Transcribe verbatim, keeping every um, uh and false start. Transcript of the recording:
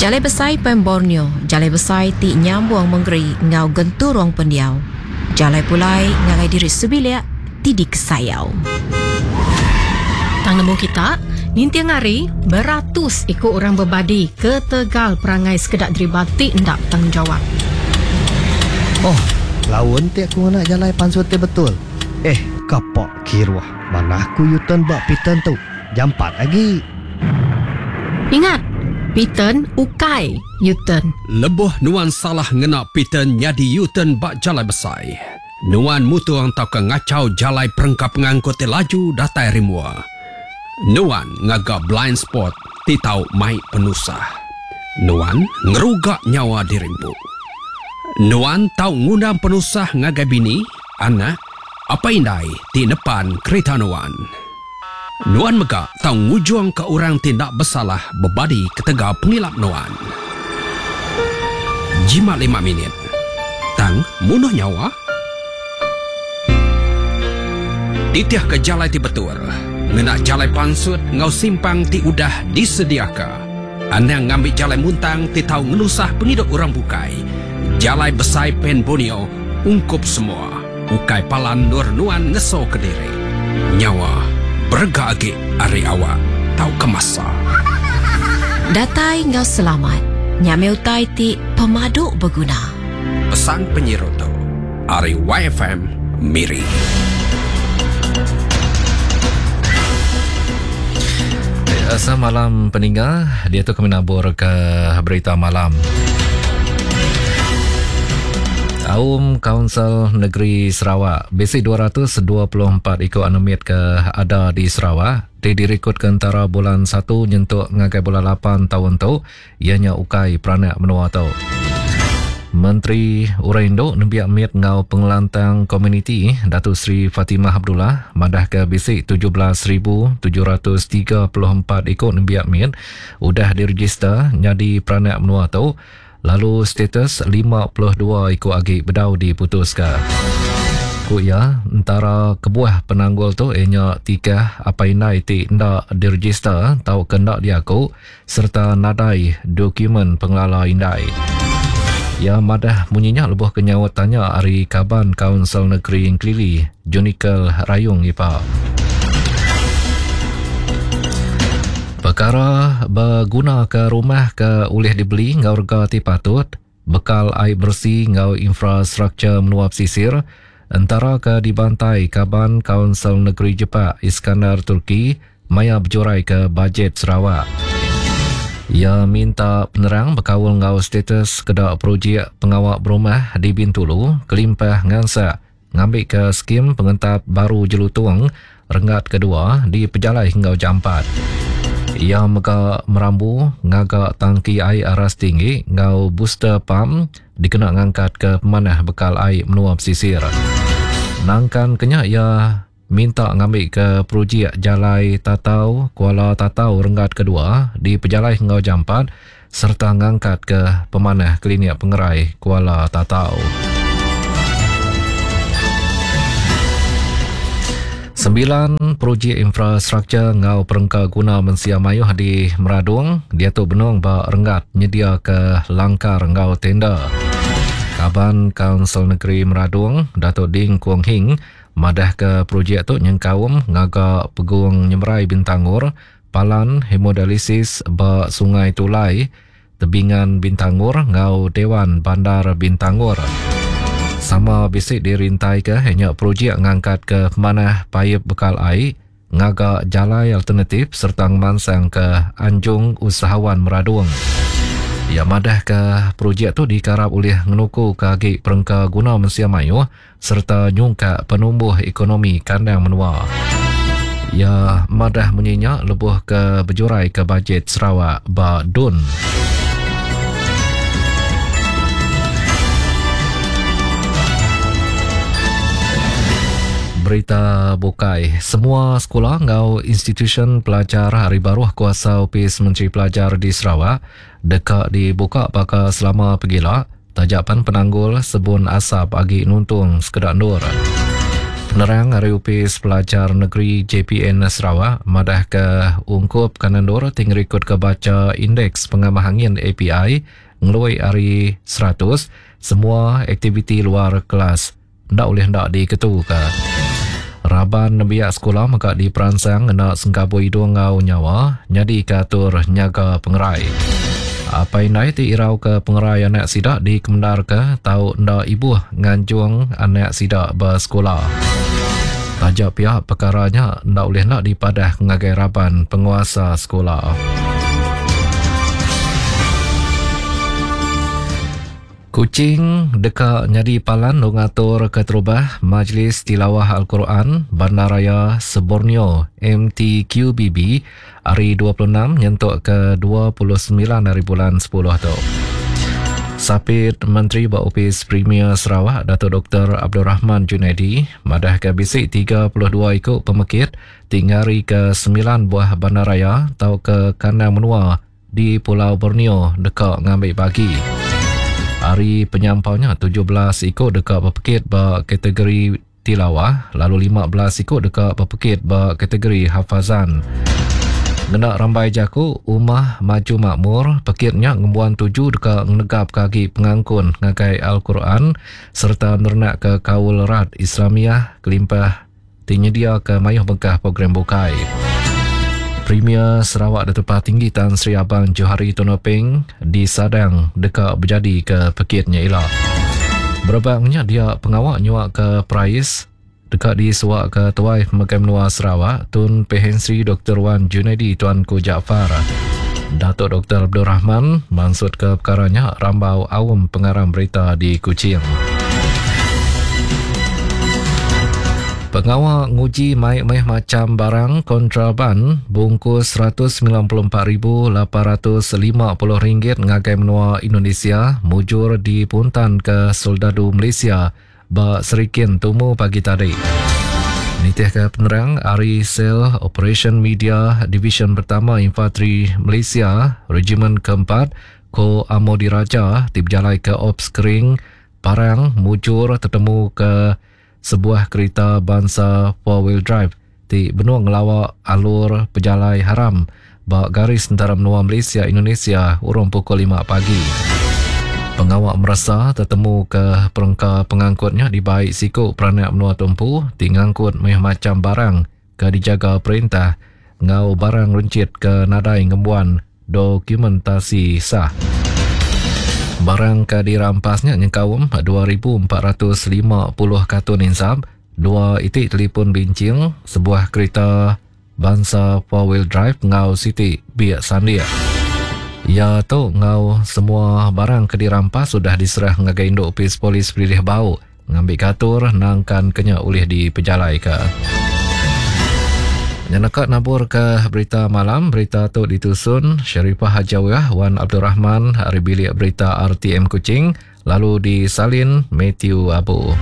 Jalai Besai Pan Borneo, jalai besai ti nyambung mengeri enggau genturung pendiau. Jalai pulai ngagai diri sebilik ti dikesayau. Tang nemu kita, ninting hari beratus iku orang bebadi ketegal perangai sekeda deriba ti enda betanggungjawab. Oh, laun ti aku ngena jalai pansut ti betul. Eh, kapak kiruh. Mana aku U-turn ba Piton tu? Jampat agi. Ingat, Piton ukai U-turn. Lebuh nuan salah ngena Piton nyadi U-turn ba jalai besai. Nuan mutung tauka ngachau jalai perengka pengangkut ti laju datai ari mua. Nuan ngaga blind spot ti tau mai penusah. Nuan ngeruga nyawa diri empu. Nuan tau ngundang penusah ngagai bini, anak, apai indai ti nepan kerita nuan. Nuan mega tau ngujung ke orang ti enda besalah bebadi ketegal pengilap nuan. Jimat lima minit. Tang munuh nyawa. Titih ke jalai ti betul. Ngena jalai pansut ngau simpang ti udah disediaka. Anang ngambil jalai muntang ti tau ngenusah pengidup orang bukai. Jalai Besai Pan Borneo ungkup semua. Ukai palan nur nuan ngeso ke diri. Nyawa berega agi ari awak tau kemasa. Datai ngau selamat. Nyame utai ti pemadu berguna. Pesan penyiru tu ari Y F M Miri. Semalam peninggal dia tu kami nabur ke berita malam. Aum Kaunsil Negeri Sarawak bisi dua ratus dua puluh empat ikut anemit ke ada di Sarawak ti direkod ke antara bulan satu nyentuk ngagai bulan lapan tahun tu ianya ukai peranak menua tu. Menteri Orang Induk Nembiak Mit ngau Pengelantang Komuniti Datuk Seri Fatimah Abdullah madah ke bisi tujuh belas ribu tujuh ratus tiga puluh empat ikut nembiak mit udah diregister nyadi peranak menua tu lalu status lima puluh dua ikut agi bedau diputuska. Ku iya, antara kebuah penanggul tu ianya tikah apai indai ti enda diregister tau ke enda diaku serta nadai dokumen pengelala indai. Ya madah munyinya lebuh ke nyaut tanya ari kaban Kaunsil Negeri Engkilili, Junical Rayong Ipa. Perkara berguna ke rumah ke ulih dibeli ngau rega ti patut, bekal air bersih ngau infrastruktur menua pesisir, antara ke dibantai kaban Kaunsil Negeri Jepak Iskandar Turki, maya berjurai ke bajet Sarawak. Ia minta penerang berkaul ngau status kedak projek pengawak berumah di Bintulu, kelimpah ngansak ngambil ke skim pengentap baru Jelutung renggat kedua di Pejalai hingga Jampat. Ia mega merambu ngagak tangki air aras tinggi ngau booster pump dikena ngangkat ke pemanah bekal air menua pesisir. Nangkan kenya ia minta ngambil ke projek Jalai Tatau Kuala Tatau renggat kedua di Pejalai hingga Jampat serta ngangkat ke pemanah klinik pengerai Kuala Tatau. Sembilan projek infrastruktur ngau perengka guna mensia mayuh di Meradung dia tu benung ba renggat nyedia ke langkar ngau tenda. Kaban Kaunsil Negeri Meradung Datuk Ding Kuong Hing madah ke projek tu nyengkaum ngaga pegung nyemerai Bintangur, palan hemodialisis ba Sungai Tulai, tebingan Bintangur ngau Dewan Bandar Bintangur. Sama bisik dirintai ke hanya projek ngangkat ke pemanah paip bekal air, ngaga jalai alternatif serta ngemansang ke Anjung Usahawan Meradung. Ya madah ke projek tu dikarap oleh ngenuku ke agi perengka guna mensia mayuh serta nyungkak penumbuh ekonomi kandang menua. Ya madah menyinya lebuh ke berjurai ke bajet Sarawak ba Dun. Berita bukai, semua sekolah ngau institusi pelajar hari baruh kuasa Opis Menteri Pelajar di Sarawak dekat dibuka bakal selama pegila tajapan penanggul sebun asap agi nuntung sekedak nur. Penerang ari Opis Pelajar Negeri J P N Sarawak madah ke ungkup kanendur ti ngerikod ke baca indeks pengamah angin A P I ngelui ari seratus, semua aktiviti luar kelas ndak boleh ndak diketuka. Raban nembiak sekolah mega diperansang ngena sengkabu hidung ngau nyawa nyadi ke atur nyaga pengerai. Apa indai ti irau ke pengerai anak sidak dikemendar ke tau ndak ibuh nganjung anak sidak bersekolah. Tajak pihak perkaranya ndak boleh nak dipadah ngagai raban penguasa sekolah. Kuching deka nyadi palan ngatur keterubah Majlis Tilawah Al-Quran Bandaraya Seborneo M T Q B B hari dua puluh enam nyentuk ke dua puluh sembilan hari bulan sepuluh tu. Sapit Menteri Ba Opis Premier Sarawak Datuk Doktor Abdul Rahman Junaidi madah ke bisi tiga puluh dua ikut pemekit tingari ke sembilan buah bandaraya atau ke kandang menua di Pulau Borneo deka ngambil bagi. Hari penyampaunya tujuh belas ikut dekat berpekit ba kategori tilawah, lalu lima belas ikut dekat berpekit ba kategori hafazan. Ngena rambai jaku Umah Maju Makmur, pekitnya ngembuan tuju dekat ngenegap kaki pengangkun ngagai Al-Quran serta nernak ke kaul rat Islamiah kelimpah tinyedia ke mayuh bengkah program bukai. Premier Sarawak Datuk Patinggi Tan Sri Abang Johari Tun Openg disadang dekat berjadi ke pekitnya ila. Berbangnya dia pengawak nyuak ke perais dekat disuak ke Tuai Pemegai Menua Sarawak Tun Pehin Sri Doktor Wan Junaidi Tuanku Jaafar. Datuk Doktor Abdul Rahman maksud ke perkaranya rambau awam pengarang berita di Kuching. Pengawal nguji mai-mai macam barang kontraban bungkus seratus sembilan puluh empat ribu lapan ratus lima puluh ringgit ngagai menua Indonesia mujur dipuntan ke Soldadu Malaysia ba Serikin Tumu pagi tadi. Nitih ke penerang Ari Sel Operation Media Division Pertama Infanteri Malaysia Regimen keempat Ko Amo Diraja ti berjalai ke Ops Kering Parang mujur tertemu ke sebuah kereta bangsa four wheel drive ti benua ngelawak alur pejalai haram ba garis antara menua Malaysia Indonesia urung pukul lima pagi. Pengawak merasa tertemu ke perengka pengangkutnya di baik siku peranak menua tumpu ti ngangkut meh macam barang ke dijaga perintah ngau barang runcit ke nadai ngembuan dokumentasi sah. Barang ke dirampasnya nyengkaum dua ribu empat ratus lima puluh kartun insap, dua itik telefon bincing, sebuah kereta bangsa four wheel drive ngau siti biak sandia. Ya tu ngau semua barang ke dirampas sudah diserah ngagai induk opis polis Pelilih Bau ngambil katur nangkan kenya ulih dipejalai ke. Nyenekat nabur ke berita malam, berita tu ditusun Sharifah Hajawiyah Wan Abdul Rahman hari bilik berita R T M Kuching, lalu disalin Matthew Abu.